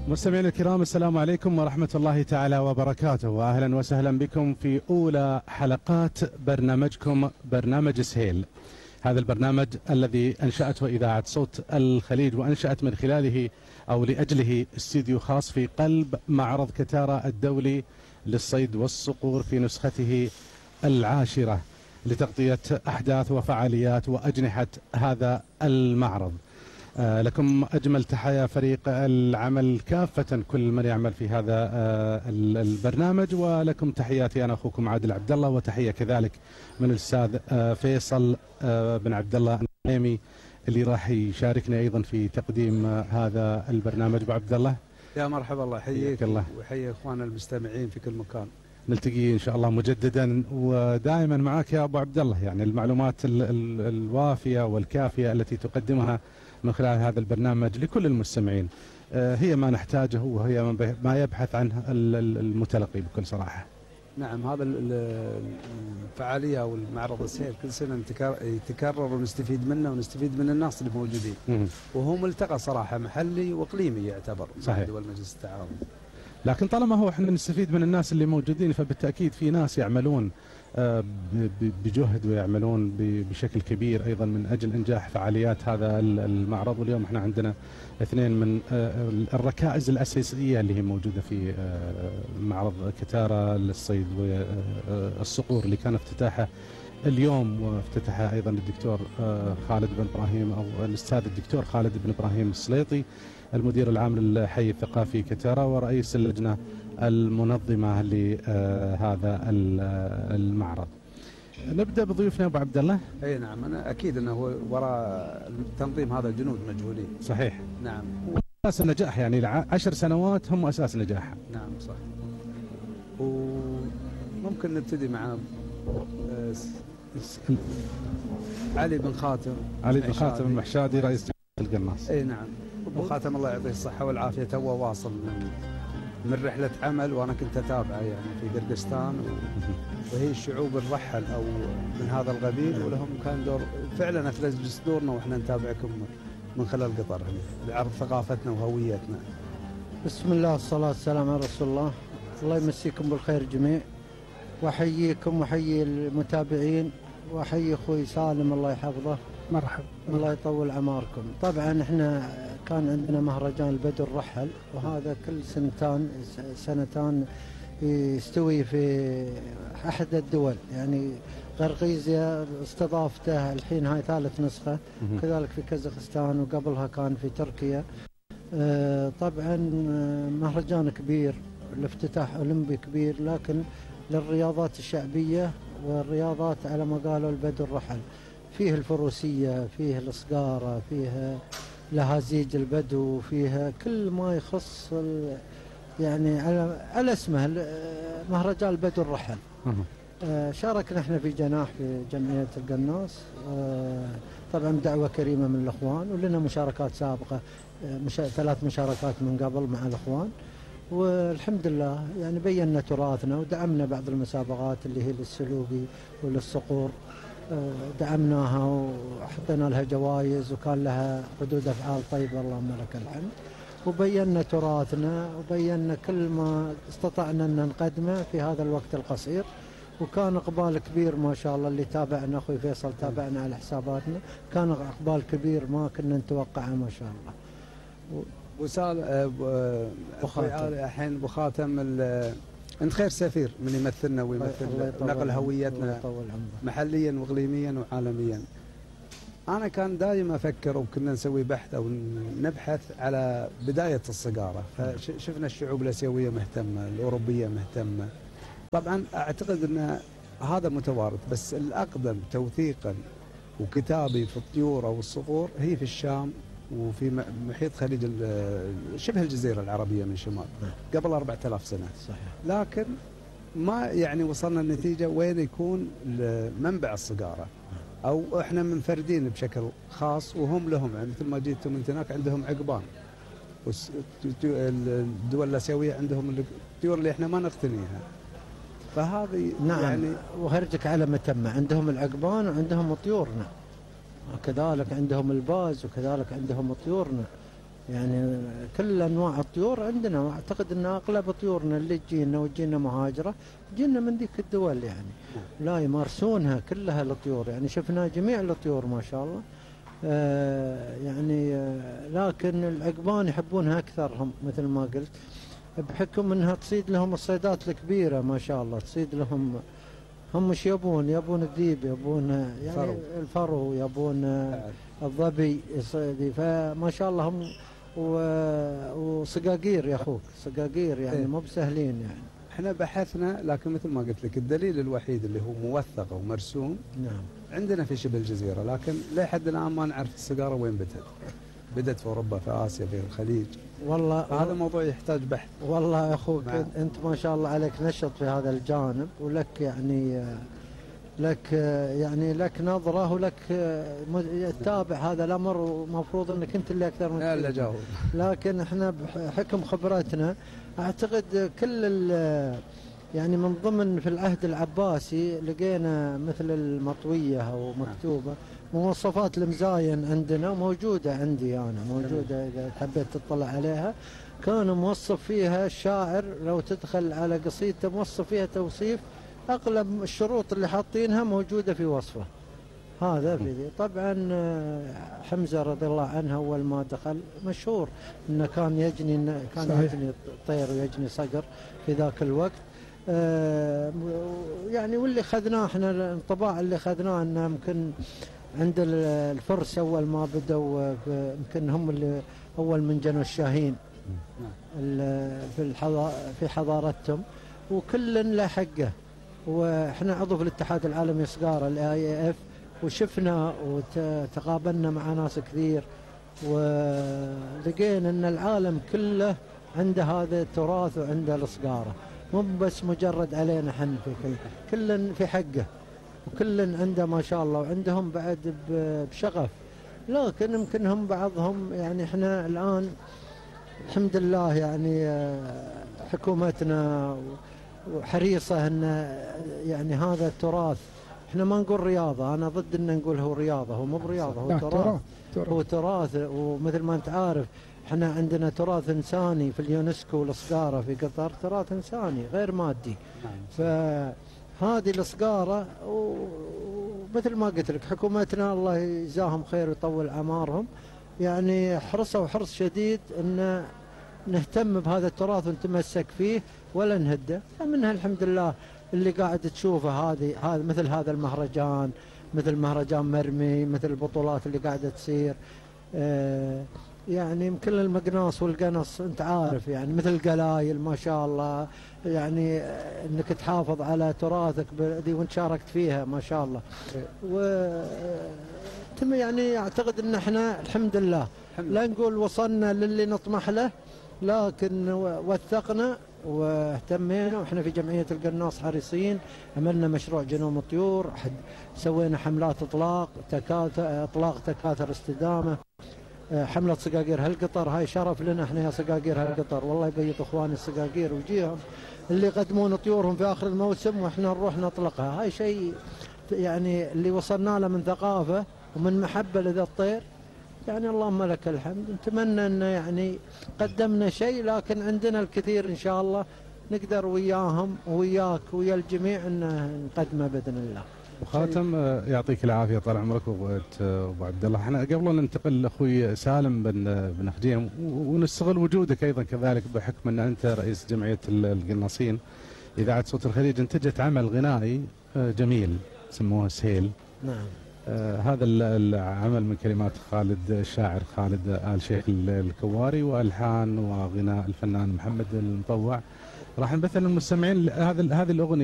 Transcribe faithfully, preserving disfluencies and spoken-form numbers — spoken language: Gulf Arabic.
مستمعينا الكرام، السلام عليكم ورحمة الله تعالى وبركاته، وأهلا وسهلا بكم في أولى حلقات برنامجكم برنامج سهيل. هذا البرنامج الذي أنشأته إذاعة صوت الخليج، وأنشأت من خلاله أو لأجله استديو خاص في قلب معرض كتارا الدولي للصيد والصقور في نسخته العاشرة، لتغطية أحداث وفعاليات وأجنحة هذا المعرض. آه لكم أجمل تحايا فريق العمل كافة، كل من يعمل في هذا آه البرنامج، ولكم تحياتي أنا أخوكم عادل عبد الله، وتحية كذلك من الأستاذ آه فيصل آه بن عبد الله النعيمي اللي راح يشاركنا أيضا في تقديم آه هذا البرنامج. أبو عبد الله، يا مرحبا، الله يحييك ويحيي إخواننا المستمعين في كل مكان. نلتقي إن شاء الله مجددا ودائما معك يا أبو عبد الله، يعني المعلومات ال ال الوافية والكافية التي تقدمها من خلال هذا البرنامج لكل المستمعين هي ما نحتاجه، وهي ما يبحث عنه المتلقي بكل صراحة. نعم، هذا الفعالية أو المعرض السهيل كل سنة يتكرر ونستفيد منه ونستفيد من الناس اللي موجودين، وهو ملتقى صراحة محلي وإقليمي يعتبر مع دول مجلس التعاون. لكن طالما هو احنا نستفيد من الناس اللي موجودين، فبالتأكيد في ناس يعملون بجهد ويعملون بشكل كبير أيضا من أجل إنجاح فعاليات هذا المعرض. واليوم احنا عندنا اثنين من الركائز الأساسية اللي هي موجودة في معرض كتارا للصيد والصقور، اللي كان افتتاحه اليوم، وافتتحها أيضا الدكتور خالد بن إبراهيم أو الأستاذ الدكتور خالد بن إبراهيم السليطي، المدير العام للحي الثقافي كتارا ورئيس اللجنة المنظمة لهذا المعرض. نبدأ بضيوفنا أبو عبد الله. أي نعم، أنا أكيد أنه وراء تنظيم هذا الجنود مجهولين. صحيح. نعم. أساس النجاح، يعني عشر سنوات هم أساس نجاحها. نعم صح. وممكن نبتدي مع علي بن خاتم. علي بن خاتم المحشادي رئيس القناص. اي نعم، ابو خاتم الله يعطيه الصحه والعافيه توه واصل من من رحله عمل، وانا كنت اتابعه يعني في قرقستان، وهي الشعوب الرحل او من هذا القبيل، ولهم كان دور فعلا افلج صدورنا واحنا نتابعكم من خلال قطر لعرض ثقافتنا وهويتنا. بسم الله والصلاه والسلام على رسول الله. الله يمسيكم بالخير جميع، واحييكم واحيي المتابعين، واحيي اخوي سالم الله يحفظه. مرحبا، الله يطول عماركم. طبعا احنا كان عندنا مهرجان البدو الرحل، وهذا كل سنتان سنتان يستوي في احد الدول، يعني قرقيزيا استضافته الحين هاي ثالث نسخه، كذلك في كازاخستان، وقبلها كان في تركيا. طبعا مهرجان كبير، الافتتاح اولمبي كبير، لكن للرياضات الشعبيه والرياضات على ما قالوا البدو الرحل، فيه الفروسية، فيه الصقارة، فيه لهازيج البدو، فيها كل ما يخص يعني على على اسمه مهرجان البدو الرحل. آه شاركنا احنا في جناح في جمعية القناص، آه طبعا دعوة كريمة من الأخوان، ولنا مشاركات سابقة، آه مشا ثلاث مشاركات من قبل مع الأخوان، والحمد لله يعني بينا تراثنا ودعمنا بعض المسابقات اللي هي للسلوبي وللصقور، دعمناها وحطينا لها جوائز وكان لها ردود أفعال طيبة اللهم لك الحمد، وبينا تراثنا وبينا كل ما استطعنا أن نقدمه في هذا الوقت القصير، وكان إقبال كبير ما شاء الله. اللي تابعنا أخوي فيصل تابعنا على حساباتنا، كان إقبال كبير ما كنا نتوقعه ما شاء الله. وسال الحين ابو خاتم، انت خير سفير من يمثلنا ويمثل نقل هويتنا محليا واقليميا وعالميا. انا كان دائما افكر وكنا نسوي بحث او نبحث على بدايه الصقاره، فشفنا الشعوب الاسيويه مهتمه، الاوروبيه مهتمه. طبعا اعتقد ان هذا متوارث، بس الاقدم توثيقا وكتابي في الطيور او الصقور هي في الشام وفي محيط خليج شبه الجزيرة العربية من شمال قبل أربعة آلاف سنة. صحيح. لكن ما يعني وصلنا النتيجة وين يكون منبع الصقارة، أو إحنا منفردين بشكل خاص وهم لهم، يعني مثل ما جيتوا من هناك عندهم عقبان، والدول الآسيوية عندهم الطيور اللي إحنا ما نقتنيها. فهذه نعم يعني وهرجك على متمة، عندهم العقبان وعندهم طيورنا، وكذلك عندهم الباز وكذلك عندهم طيورنا. يعني كل انواع الطيور عندنا، واعتقد ان اغلب طيورنا اللي تجينا وتجينا مهاجره تجينا من ذيك الدول يعني. لا يمارسونها كلها الطيور، يعني شفنا جميع الطيور ما شاء الله. آه يعني آه لكن العقبان يحبونها اكثر هم مثل ما قلت، بحكم انها تصيد لهم الصيدات الكبيره ما شاء الله، تصيد لهم. هم مش يبون يبون الذيب، يبون يعني فرو. الفرو، يبون الظبي يصيدي، فما شاء الله هم وصقاقير يا اخوك، صقاقير يعني إيه؟ مو بسهلين يعني. احنا بحثنا، لكن مثل ما قلت لك الدليل الوحيد اللي هو موثق ومرسوم نعم عندنا في شبه الجزيره، لكن لحد الان ما نعرف السقاره وين بدت. بدت في اوروبا، في اسيا، في الخليج. والله هذا موضوع يحتاج بحث. والله يا اخوك انت ما شاء الله عليك نشط في هذا الجانب، ولك يعني لك يعني لك نظره ولك تتابع هذا الامر، ومفروض انك انت اللي اكثر من لا جاوب. لكن احنا بحكم خبرتنا اعتقد كل يعني من ضمن في العهد العباسي لقينا مثل المطويه او مكتوبه مواصفات المزاين عندنا، موجوده عندي انا، موجوده اذا حبيت تطلع عليها. كان موصف فيها الشاعر، لو تدخل على قصيدته موصف فيها توصيف اغلب الشروط اللي حاطينها موجوده في وصفه هذا. في طبعا حمزه رضي الله عنه اول ما دخل مشهور انه كان يجني كان صحيح. يجني طير ويجني صقر في ذاك الوقت. آه يعني واللي خذناه احنا الانطباع اللي خذناه انه يمكن عند الفرس اول ما بدوا يمكن هم اللي اول من جنوا الشاهين في في حضارتهم، وكل له حقه. واحنا عضو في الاتحاد العالمي صقاره الاي اي اف، وشفنا وتقابلنا مع ناس كثير، ولقينا ان العالم كله عنده هذا التراث وعنده الصقاره، مو بس مجرد علينا حن في كل كل في حقه، وكل عنده ما شاء الله، وعندهم بعد بشغف. لكن يمكن هم بعضهم يعني احنا الان الحمد لله يعني حكومتنا وحريصه ان يعني هذا التراث، احنا ما نقول رياضه، انا ضد ان نقول هو رياضه، هو مو برياضه، هو تراث. هو تراث، ومثل ما انت عارف احنا عندنا تراث انساني في اليونسكو. الصقاره في قطر تراث انساني غير مادي. فهذه الصقاره، ومثل ما قلت لك حكومتنا الله يجزاهم خير ويطول اعمارهم، يعني حرصوا حرص شديد ان نهتم بهذا التراث ونتمسك فيه ولا نهده. فمنها الحمد لله اللي قاعد تشوفه هذه هذا مثل هذا المهرجان، مثل مهرجان مرمي، مثل البطولات اللي قاعده تصير. آه يعني يمكن المقناص والقنص انت عارف، يعني مثل القلايل ما شاء الله، يعني انك تحافظ على تراثك دي وانت شاركت فيها ما شاء الله. و يعني اعتقد ان احنا الحمد لله لا نقول وصلنا للي نطمح له، لكن وثقنا واهتمينا. واحنا في جمعيه القناص حريصين، عملنا مشروع جنوم الطيور، سوينا حملات اطلاق تكاثر اطلاق تكاثر استدامه، حمله صقاقير هالقطر. هاي شرف لنا احنا يا صقاقير هالقطر، والله يبيض اخواني الصقاقير وجيهم اللي يقدمون طيورهم في اخر الموسم واحنا نروح نطلقها. هاي شيء يعني اللي وصلنا له من ثقافه ومن محبه لذا الطير، يعني اللهم لك الحمد. نتمنى ان يعني قدمنا شيء، لكن عندنا الكثير ان شاء الله نقدر وياهم وياك ويا الجميع ان نقدمه باذن الله. وخاتم يعطيك العافيه طال عمرك ابو عبد الله. احنا قبل ننتقل لاخوي سالم بن بن خديم، ونستغل وجودك ايضا كذلك بحكم ان انت رئيس جمعيه القناصين. اذاعه صوت الخليج انتجت عمل غنائي جميل سموه سهيل. نعم. آه هذا العمل من كلمات خالد الشاعر خالد آل شيخ الكواري، والحان وغناء الفنان محمد المطوع. راح نبث للمستمعين هذه هذه الاغنيه.